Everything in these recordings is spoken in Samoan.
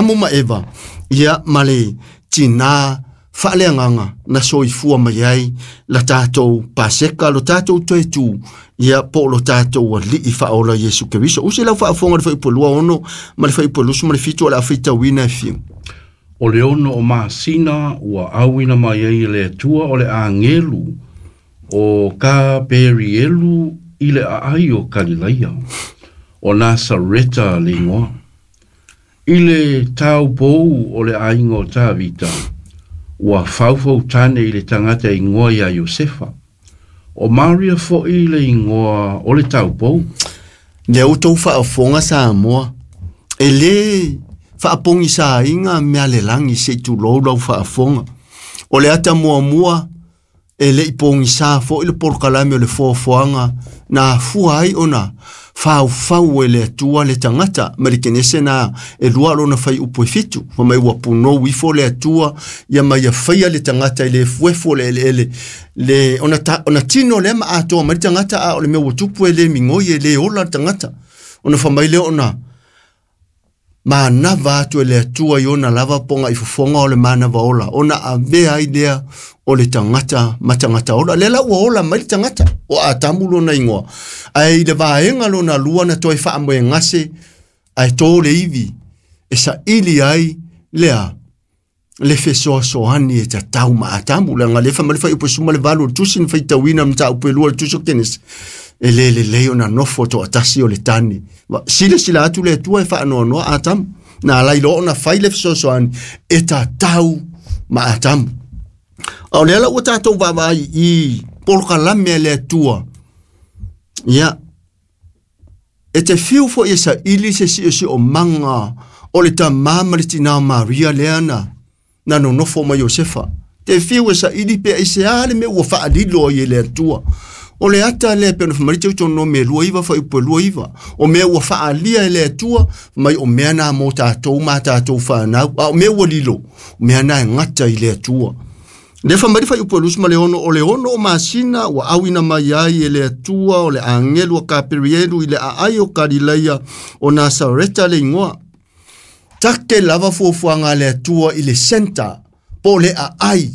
Atamu ma Eva ia ma le tinā faaleagaga na soifua mai ai la tatou Paseka, lo tatou toe tu ia po o lo tatou Alii faaola Iesu Keriso. Usi lau faafofoga le fuaiupu 26 ma le fuaiupu 27 o le a faitauina e fiu. O le 6 o masina ua auina mai ai e le Atua o le agelu o Kaperielu i le aai o Kalilaia, o Nasareta le igoa, i le taupou o le aiga o Tavita, ua faufautane i le tagata e igoa ia Iosefa. O Maria foi le igoa o le taupou. Lea ua tou faafofoga Samoa, e lē faapogisaina mea le lagi se i tulou lau faafofoga. O le ata muamua e le i pogisa foi le polokalame o le foafoaga na afua ai ona faufau e le Atua le tagata ma le Kenese na e 2 lona fuaiupu e 7. Fai mai ua punou ifo le Atua ia ma ia faia le tagata i le efuefu o le eleele le ona tino lea ma atoa mai le tagata, a o le mea ua tupu e le migoi e le ola le tagata. Ona fai mai lea ona manava atu e le Atua i ona lava poga i fofoga o le manava ola, ona avea ai lea o le tagata ma tagata ola. Lea la ua ola mai le tagata o Atamu lona igoa, ae i le vaega lona lua na toe faamoegase ae tō le ivi e saili ai lea le fesoasoani e tatau ma Atamu. Leaga le fai mai le fuaiupu 18 o le tusi na faitauina le mataupu e 2 o le tusi o Kenesi, e le lelei ona nofo toatasi o le tane. Silasila atu le Atua e faanoanoa Atamu, na alai loa ona fai le fesoasoani e tatau ma Atamu. A o lea la ua tatou vaavaai i polokalame a le Atua, ia, e te fiu foi e saili se siosiomaga o le tamā ma le tinā o Maria lea na nonofo mai Iosefa. Te fiu e saili pe aisea le mea ua faalilo ai e le Atua. O le ata lea pe ona fai mai Teutonomi e 29 fuaiupu e 29. O mea ua faalia e le Atua, mai o mea na mo tatou ma tatou fanau. A o mea ua lilo, o mea na e gata i le Atua. Le fai mai le fuaiupu e 26, o le 6 o masina ua auina mai ai e le Atua o le agelu a Kaperielu i le aai o Kalilaia o Nasareta le igoa. Take lava fuafuaga a le Atua i le center po o le aai.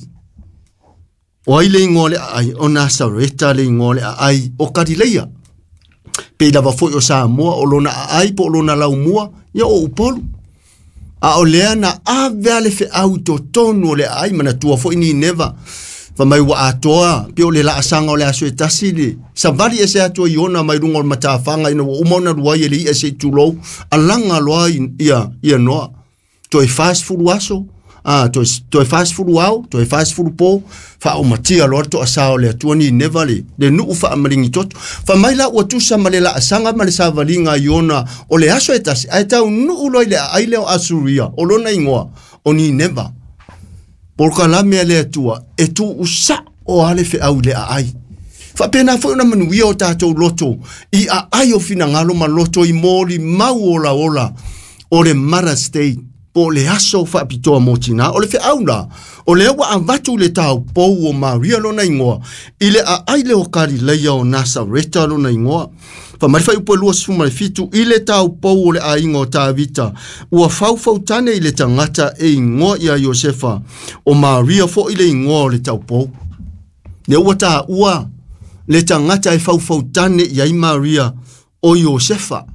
O ai le igoa o le aai? O Nasareta le igoa o le aai o Kalilaia. Pei lava foi o Samoa o lona aai po o lona laumua, ia o Upolu. A o lea na ave a le feau i totonu o le aai, manatua foi Nineva. Fai mai ua atoa, pe o le laasaga o le aso e tasi le savali ese atu ai ona mai luga o le matafaga ina ua uma ona luai e le ia se i tulou, alaga loa ia Noa. Toe 40 aso, toe 40 ao, toe 40 po, faaomatia loa le toasā o le Atua Nineva le nuu faamaligi toto. Fai mai la ua tusa ma le laasaga ma le savaliga i ona o le aso e tasi, ae taunuu loa i le aai lea o Asuria, o lona igoa o Nineva. Polokalame a le Atua e tuusao a le feau i le aai. Faapena foi ona manuia o tatou loto i aai o finagalo ma loto i moli mau olaola o le Mother's Day, po o le aso faapitoa mo tinā. O le feau la, o lea ua avatu le taupou o Maria lona igoa i le aai lea o Kalilaia o Nasareta lona igoa. Fai mai le fuaiupu e 27, i le taupou o le aiga o Tavita, ua faufautane i le tagata e igoa ia Iosefa, o Maria foi le igoa o le taupou. Lea ua taua le tagata e faufautane i ai Maria o Iosefa.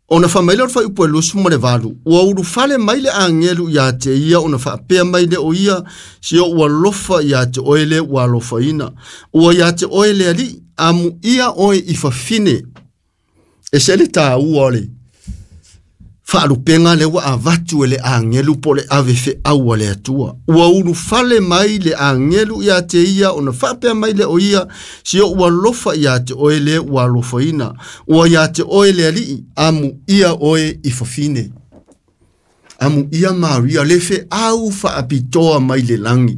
Ona fai mai lea o le fuaiupu e 28, ua ulufale mai le agelu ia te ia ona faapea mai le o ia, si o ua lofa ia te oe le ua alofaina. Ua ia te oe le alii, amu ia oe i fafine. E se le tāua o le faalupega lea ua avatu e le agelu po o le ave feau a le Atua. Ua ulufale mai le agelu ia te ia ona faapea mai le o ia, si o ua lofa ia te oe le ua alofaina. Ua ia te oe le alii, amu ia oe i fafine. Amu ia Maria le feau faapitoa mai le lagi.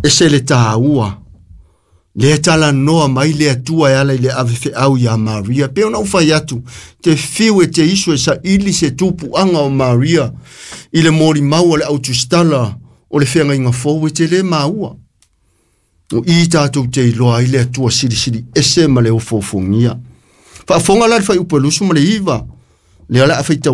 E se le tāua. Le talanoa mai le Atua e ala i le ave feau ia Maria. Pe ona ou fai atu, te fiu e te iso e saili se tupuaga o Maria i le molimau o le autusitala o le feagaiga fou e te le maua. O i tatou te iloa ai le Atua silisili ese ma le ofoofogia. Faafofoga la le fuaiupu e 29, lea o le a faitauina.